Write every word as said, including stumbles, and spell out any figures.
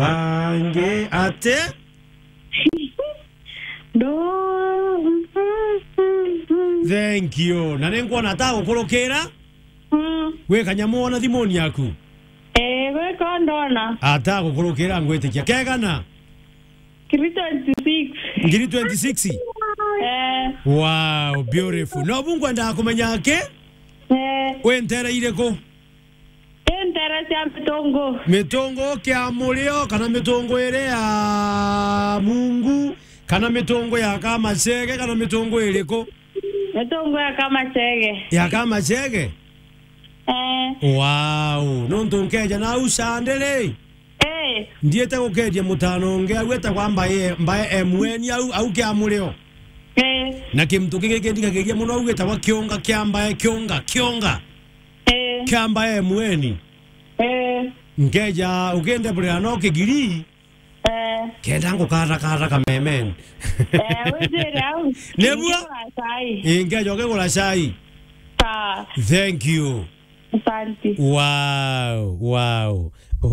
Bangi ati? Ndo. Thank you. Na ni nkwona atagukurukira. Mm. Gwi kanyamu wona thimuni yaku? Eh, gwi ko ndona. Atagukurukira ngwitikia. Kegana? Ngiri twenty-six. Ngiri twenty-six? Eh. Wow, beautiful. No bu ngwendaga kumenya ki? Eh. Wi ntere iriku? Wi ntere cia Mitungu. Mitungu kia Murio, kana Mitungu iria ya Mungu, kana Mitungu ya Kamachege, kana Mitungu iriku? Mitungu ya Kamachege. Ya Kamachege? Eh. Wow, nontu nkeja nau candi ri? Eh. Ndiete gukeria mutano ungi au etagwa Mbae, Mbae M N au, au kia Murio. Eh. Na kintu kingi kindikagiria muno au gitagwa Kiunga kia Mbae, Kiunga, Kiunga. Eh. Kia Mbae M N. Eh. Nkeja ukindeburira no kigiri. Eh. Kenda ngukarakara kamemen. Eh, wizire au. Nebua? Ingigura cai. Ingeja ukigura cai. Sawa. Thank you. Asante. Wow, wow. Oh.